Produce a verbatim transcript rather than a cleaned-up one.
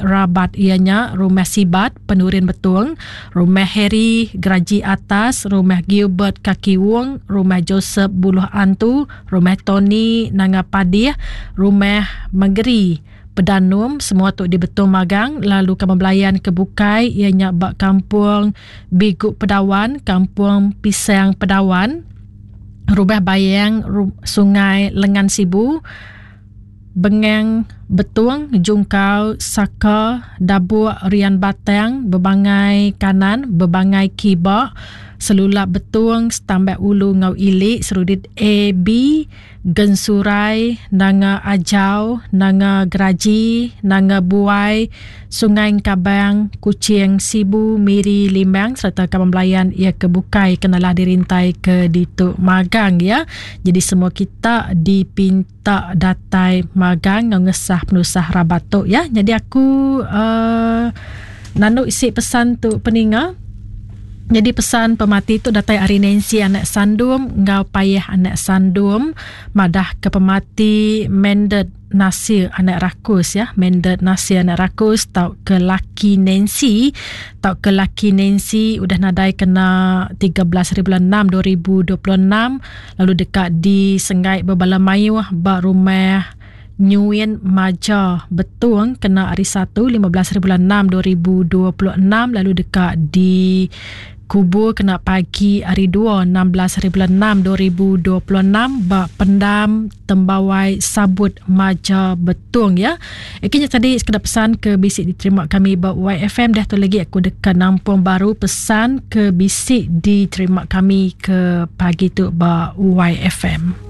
rabat ianya Rumah Sibat Penurin Betung, Rumah Harry Geraji Atas, Rumah Gilbert Kaki Wong, Rumah Joseph Buluh Antu, Rumah Tony Nanga Padih, Rumah Megeri Pedanum, semua tu di Betung magang. Lalu kaban belayan ke bukai ianya ba Kampung Bigu Pedawan, Kampung Pisang Pedawan, Rumah Bayang Sungai Lengan Sibu, Bengang Betung, Jungkau Saka, Dabuk Rian Batang, Bebangai Kanan, Bebangai Kiba, Selulap Betung, Setambak Ulu Ngau Ilik, Serudit A B, Gensurai, Nanga Ajau, Nanga Geraji, Nanga Buai, Sungai Kabang, Kuching, Sibu, Miri, Limbang serta kaban belayan ia kebukai kenalah dirintai ke ditu magang ya. Jadi semua kita dipinta datai magang ngau ngesah penusah rabat tu ya. Jadi aku uh, nanu isi pesan tu peninga. Jadi pesan pemati tu datai ari Nancy anak Sandum ngau payah anak Sandum madah ke pemati Mendet Nasir anak Rakus ya. Mendet Nasir anak Rakus tau ke laki Nancy, tau ke laki Nancy udah nadai kena tiga belas hari bulan enam dua ribu dua puluh enam lalu dekat di Sengai Bebala Mayuh ba rumah Nyuin Maja Betung kena hari satu lima belas hari bulan enam dua ribu dua puluh enam lalu dekat di kubur kena pagi hari dua enam belas hari bulan enam dua ribu dua puluh enam ba pendam Tembawai Sabut Maja Betung ya. Ikinya tadi sekeda pesan ke bisik diterima kami ba Y F M. Dah tu lagi aku dekat nampung baru pesan ke bisik diterima kami ke pagi tu ba Y F M.